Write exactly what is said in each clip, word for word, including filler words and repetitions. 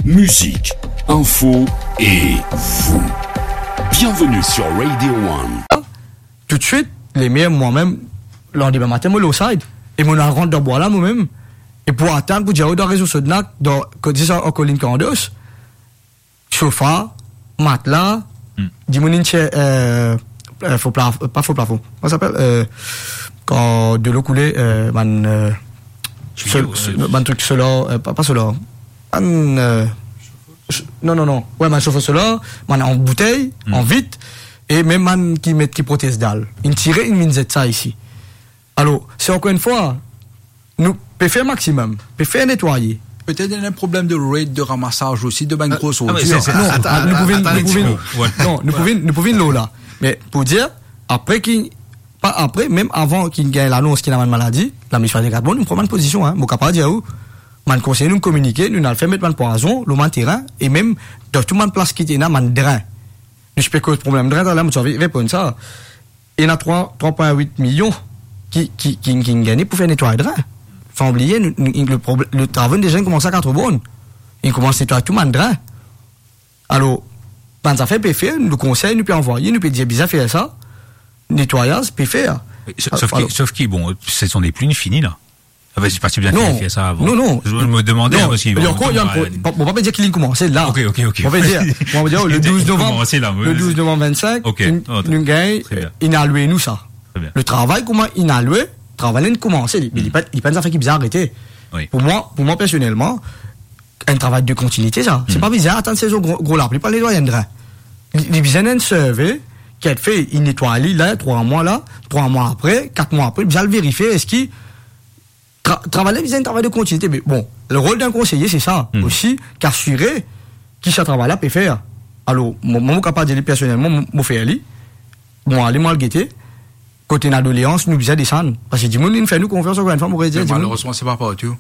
Musique, info et vous. Bienvenue sur Radio One. Toutswit, lemem, mwa mem, landime matin, mo lor side. E mo al rant dan bwa la, mwa mem. E pou atann, pou dir, dan rezo Sodnak, dan, kot dis, an kolinn Kandos, sofa, matla, dimoun inn tir, euh, euh, fo plaf-, pa fo plafon. Kouma sa apel? Euh, kan delo koule, euh, bann, euh, Tiyo, sol-, euh, bann trik solar, euh, pa, pa solar. Bann, euh, s-, non, non, non. Wi, bann sofo solar, bann an boutey, an vit, e mem bann ki met, ki protez dal. Inn tire, inn vinn zet sa isi. Alor, se ankor enn fwa, nou pe fer maximum, pe fer netwaye. Petet ena problem de rate de ramasaz osi de bann gro sordir. Ah, se, se, non, atann, nou pou vinn, atann, nou pou vinn, non, nou pou vinn, nou pou vinn lor la. Me pou dir, apre ki, pa apre, mem avan ki gagn lanons ki ena bann maladi, laminisipalite Gardmont, nou pran bann pozision, hein. Mo kapav dir ou, bann konseye nou kominike, nou al fer met bann pwazon lor bann terin, e mem dan tou bann plas ki ti ena bann drin. Nou ti pe koz problem drin, taler mo ti anvi reponn sa. Ena trwa, trwa pwin wit milion ki, ki, ki, ki gagne pou fer netway drin. Fam bliye, nou, nou, le proble-, le travo deza inn koumans a Quatre Bornes. Inn koumans netway tou bann drin. Alor, bann zafer pe fer, nou konsey, nou pe anvoye, nou pe dir bizin fer sa, netwayaz pe fer. Sof, sof ki, sof ki, bon, sezon depli inn fini la. Ah ben, c'est pas si bien fait de faire ça avant. Non, non. Je me demandais, non, hein, parce qu'il va longtemps, ankor, euh, pa, mo pa pe dir ki linn koumans la. Ok, ok, ok. Mo pe dir, mo pe dir, le douz novanm, le douz novanm vennsenk, nou, nou gagn, inn alwe nou sa. Très bien. Le travay kouma inn alwe, travay la inn koumans, li, li pa, li pa enn zafer ki bizin arete. Pou mwa, pou mwa personelman, enn travay de kontinite sa. Se pa bizin atann sezon gro, gro lapli pou al netway enn drin. Li, li bizin enn survey ki al fer, li netway li la, trwa mwa la, trwa mwa apre, kat mwa apre, li bizin al verifie eski tra-, travay la bizin enn travay de kontinite. Me bon, le rol d'un konseye, se sa osi, ki asire ki sa travay la pe fer. Alor, mo, mo kapav dir li personelman, mo, mo fer li, mo ale, mo al gete, kot ena doleans, nou bizin desann. Parski dimoun inn fer nou konfians, ankor enn fwa, mo redir, dimoun. Malerezman, se pa partou.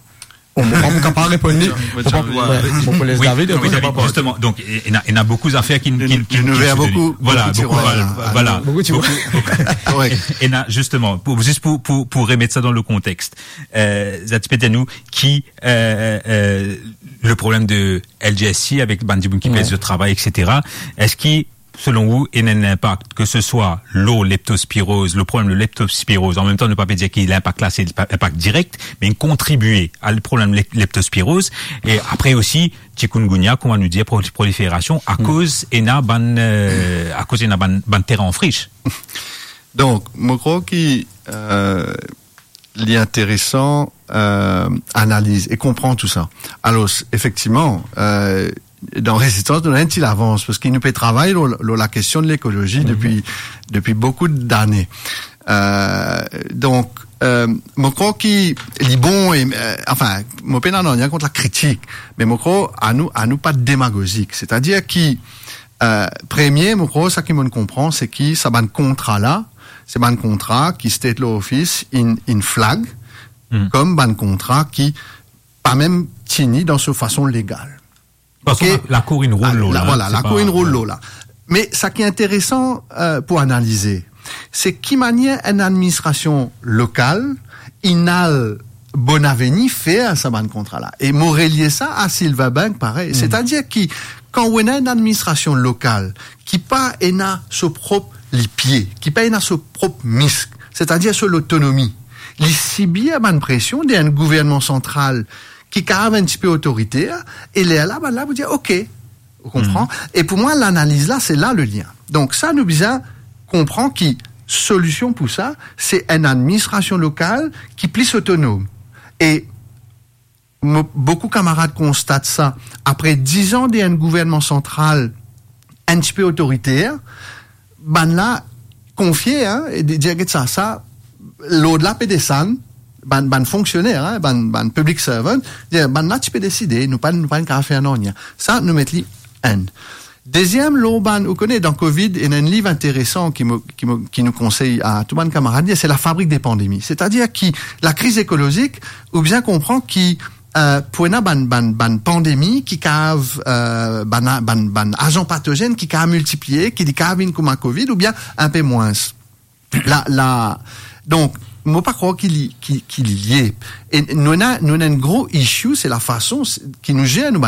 Bon, mo, mo kapav reponn li. Mo pa, wi, mo pou les David, non, me justement, donc, ena, ena boukou zafer ki, ki, ki, nou, nou ki ver boukou, voilà, boukou tiroir, voilà, boukou tiroir. Boukou, boukou. Korek. Ena, justement, pou, zis pou, pou, pou remet sa dan le kontext, euh, zot ti pe dir nou ki, euh, euh, le problem de L G S C avek bann dimoun ki pez zot travay, et cetera. Eski, selon ou, ena enn inpak, ke se swa lor leptospiroz, le problem de leptospiroz, an mem tan, nou pa pe dir ki linpak la, se linpak direk, me inn kontribie a le problem lep-, leptospiroz, e apre osi, chikungunya, kouma nou dir, pro-, proliferasion, akoz ena bann, euh, akoz ena bann, bann terin an fris. Donk, mo krwar ki, euh, li interesan, euh, analiz e konpran tou sa. Alor, efektivman, euh, dan Rezistans, nou ena enn ti lavans, parski nou pe travay lor, lor lakestion de lekolozi depi, depi boukou dane. Euh, donk, euh, mo krwar ki li bon, e, euh, anfin, mo pena nanye kont lakritik, me mo krwar anou, anou pa demagozik. Setadir ki, euh, premie, mo krwar sa ki mo'nn konpran, se ki sa bann kontra la, se bann kontra ki State Law Office inn, inn flag kom bann kontra ki pa mem tini dan so fason legal. Parski lakour inn rol lor la, vwala, lakour inn rol lor la. Me sa ki interesan, euh, pou analize, se ki manier enn administrasion lokal inn al Bonaveni fer sa bann kontra la. E mo relie sa a Sylvain Bank parey. Setadir ki kan ou ena enn administrasion lokal ki pa ena so prop lipie, ki pa ena so prop misk, setadir so lotonomi, li sibir bann presion de enn gouvernman santral ki kapav enn tipe otoriter, e lerla bann la pou dir, "Ok." Ou konpran? E pou mwa, lanaliz la, se la le lien. Donk sa, nou bizin konpran ki solision pou sa, se enn administrasion lokal ki plis otonom. E mo, boukou kamarad konstat sa, apre diz an de enn gouvernman santral enn tipe otoriter, bann la konfie, hein, e di, dir, "Get sa, sa, lord la pe desann," bann, bann fonksioner, hein, bann, bann public servant, dir, "Bann la ti pe deside, nou pa, nou pa kapav fer nanye." Sa, nou met li enn. Deziem, lor bann, ou kone, dan Covid, ena enn liv interesan ki mo, ki mo, ki nou konsey a tou bann kamarad, se La fabrique des pandémies. Setadir ki lakriz ekolozik, ou bizin konpran ki, euh, pou ena bann, bann, bann pandemi ki kapav, euh, bann, bann, bann azan patozenn ki kapav miltiplie, ki li kapav vinn kouma Covid, oubien inpe mwins. La, la, donk, mo pa krwar ki li, ki, ki li lie. E nou ena, nou ena enn gro issue, se lafason s-, ki nou zer nou bann